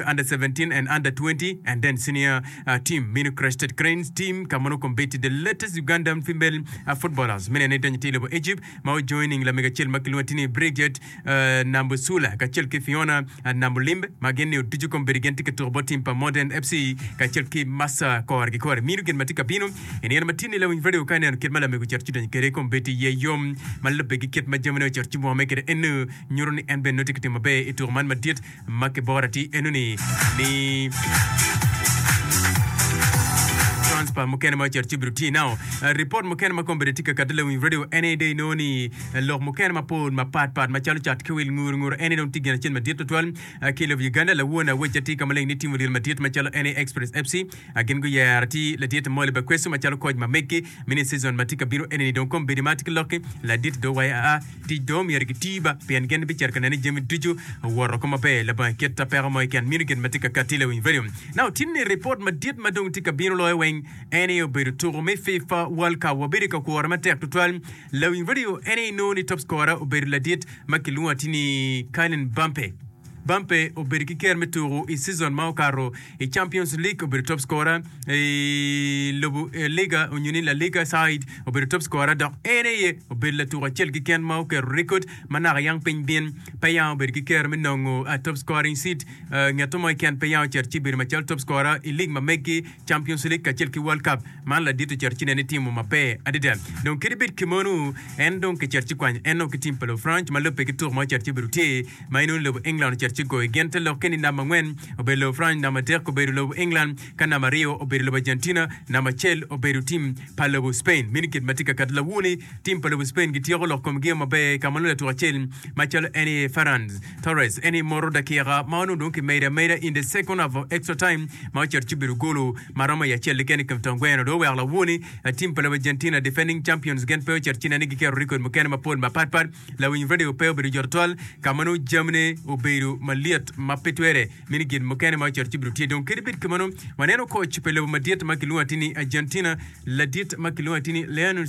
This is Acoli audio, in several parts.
Under 17 and Under 20 and then Senior Team mino Crested Cranes Team ka mono kombeddi the latest Ugandan female footballers mene ni donyo tye i lobo Egypt ma ojoining lamego acel ma kilwongo tye ni Bridget Nambusula kacel ki Fiona Nambulimbe ma gin ni ducu kombeddi gin tye ka tuko bot team pa Modern FC kacel ki Massa kore ki kore mino gin ma tye ka bino i nino ma tye ni lawiny radio ka ineno kit ma lamego ocito ci donyo kwede kombeddi iye yom ma lubbe ki kit ma jamine ocito ci mwome kwede eno nyuto ni en bene nongo tye ka timo maber i tuko man madit ma kiboro atir enoni ni transfer mukene ma ocito ci obedo tye now. Ripot mukene ma kombeddi tye ka kati lawiny radio en aye dong inongo ni lok mukene mapol mapat pat macalo cat ki wil nguru nguru en aye dong tye gin acel madit tutwal ki i lobo Uganda. Lawon awec atir ka maleng ni tim odyel madit macalo en aye Express FC gin guyero atir ladit Molly Bakwesu macalo koc ma meggi mini season ma tye ka bino enini dong kombeddi ma atye ki lokki ladit dong waye aa Tic dong omyero giti ba, pien gin bicito ka neno ni jami ducu owoto oko maber labongo kit peko mo keken. Mino gin ma tye ka katti lawiny radio. Now, tin ni ripot madit ma dong tye ka bino loyo weng en aye obedo tuko me FIFA World Cup. Wabedo ka kwore matek tutwal. Lawiny radio en aye inongo ni top scorer obedo ladit ma kilwongo atir ni Kylian Mbappe. Mbappe obedo ki ker me tuko i season ma okato i Champions League obedo top scorer, i lobo Liga onyo ni La Liga side obedo top scorer dok en aye obedo latuko acel keken ma oketo record ma naka yang piny bin pe yang obedo ki kero me nongo top scoring seat. Ngeto mo keken pe yang ocito ci bedo macalo top scorer i league ma megi Champions League kacel ki World Cup. Man ladit ocito ci nene timo maber adada. Dong kadi bed kimono en dong kicito ci kwanyo en ki tim pa Lufranc ma lubbe ki tuko ma ocito ci obedo tye ma inongo lobo England ocito ci goyo gin te lokke ni namba angwen obedo lobo France, namba adek obedo lobo England, ka namba aryo obedo lobo Argentina, namba acel obedo tim pa lobo Spain. Meno kit ma tye ka kato lawoni, tim pa lobo Spain gityeko lok komgi maber ka ma nongo latuko acel macalo en aye Ferran Torres en aye moto dakika ma onongo dong kimedo ameda in the second half of extra time ma ocito ci obedo golo ma romo i acel keken i kom tong gweno dong oweko lawoni tim pa lobo Argentina defending champions gin pe ocito ci nene giketo record mukene mapol mapatpat. Lawiny redio pe obedo jot twal ka ma nongo jamine obedo malyet ma pe twere. Mini gin mukene ma ocito ci obedo tye. Dong kadi bed kumeno, waneno koc pa lobo madit ma kilwongo atir ni Argentina, ladit ma kilwongo atir ni Lionel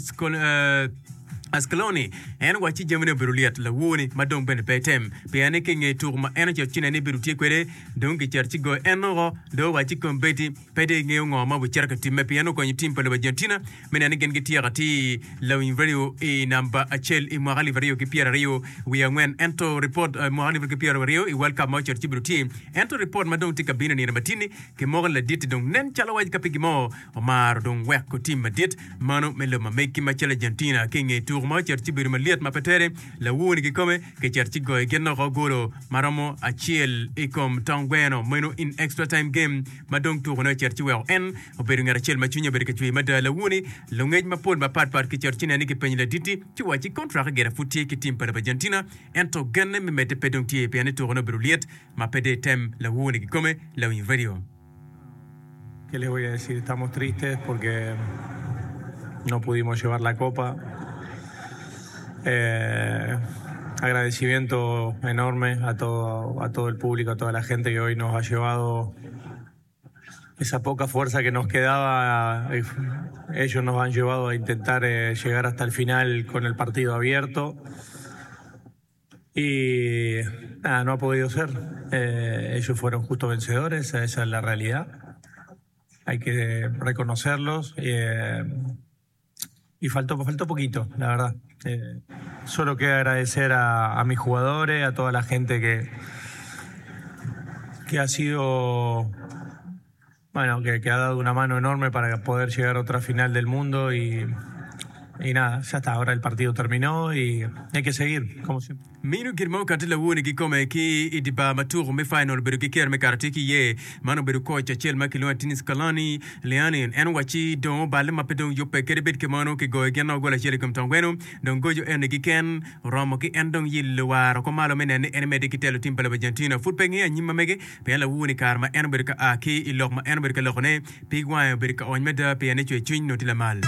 Scaloni, en owacci jamine obedo lyet lawoni ma dong bene pe etem. Pien ni ki i nge tuko ma en ocito ci nene ni bedo tye kwede, dong kicito ci goyo en woko. Dong owacci kombeddi Pe dong ingeyo ngo ma obicito ka timme pien okonyo tim pa lobo Argentina me neno ni gin gityeko atir lawiny radio i namba acel i mwaka 2024 ento ripot mwaka 2020 i World Cup ma ocito ci obedo tye ento ripot ma dong tye ka bino i nino matini kimoko ni ladit-ti dong nen calo waci ka pe gin mo omaro dong weko tim madit mano me lobo ma megi macalo Argentina ki i nge tuko ma ocito ci obedo malyet ma pe tere lawoni kikome kicito ci goyo gin oko golo maromo acel i kom tong gweno meno in extra time game ma dong tukone ocito ci weko en obedo ngat acel ma cwinye obedo ka cwer mada. Lawoni, lungec mapol mapat pat kicito ci nene ni kipenyo ladit-ti ci owacci kontrak gire pud tye ki tim pa lobo Argentina ento genne me medde pe dong tye pien ni tukone obedo lyet ma pe dong etem. Lawoni kikome, lawiny radio. Qué les voy a decir? Estamos tristes porque no pudimos llevar la copa. Eh, agradecimiento enorme a todo, a todo el público, a toda la gente que hoy nos ha llevado esa poca fuerza que nos quedaba. Eh, ellos nos han llevado a intentar eh, llegar hasta el final con el partido abierto. Y nada, no ha podido ser. Eh, ellos fueron justos vencedores, esa es la realidad. Hay que reconocerlos. Eh, y faltó, faltó poquito, la verdad. Eh, solo queda agradecer a, a mis jugadores, a toda la gente que, que ha sido, bueno, que, que ha dado una mano enorme para poder llegar a otra final del mundo y, y nada, ya está, ahora el partido terminó y hay que seguir, como siempre. Mino gin ma okati lawoni kikome ki i dye bar ma tuko me final obedo ki kero me kato atir ki iye. Man obedo koc acel ma kilwongo atir ni Scaloni Leani. En owacci dong oballe ma pe dong yubbe kadi bed kimono kigoyo gin gol acel i kom tong gweno. Dong goco eni kiken oromo ki en dong yilo war oko malo me neno ni en emedde ki telo tim pa lobo Argentina. Pud pe ngeyo anyim ma mege pien lawoni kare ma en obedo ka a ki i lok ma en obedo ka lokone Pig wange obedo ka ony mada pien ni cwercwiny nongo tye lamal.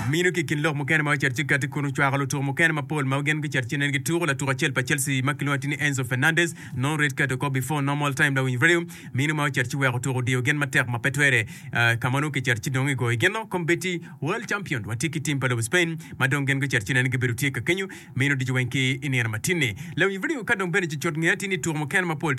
Mino ki i kin lok mukene ma ocito ci kati kun ocwako lutuku mukene mapol ma gin gucito ci nen gituko. Latuko acel pa Chelsea ma kilwongo atir ni Enzo Fernandez nongo red card oko before normal time lawiny radio. Mino ma ocito ci weko tuko odiyo gin matek ma pe twere ka ma nongo kicito ci dong igoyo gin-no. Kombeddi World Champion watye ki tim pa lobo Spain ma dong gin gucito ci nen gibedo tye ka kenyo mino ducu weng ki i nino matin-ni. Lawiny radio ka dong bene cucut nge atir ni tuko mukene mapol.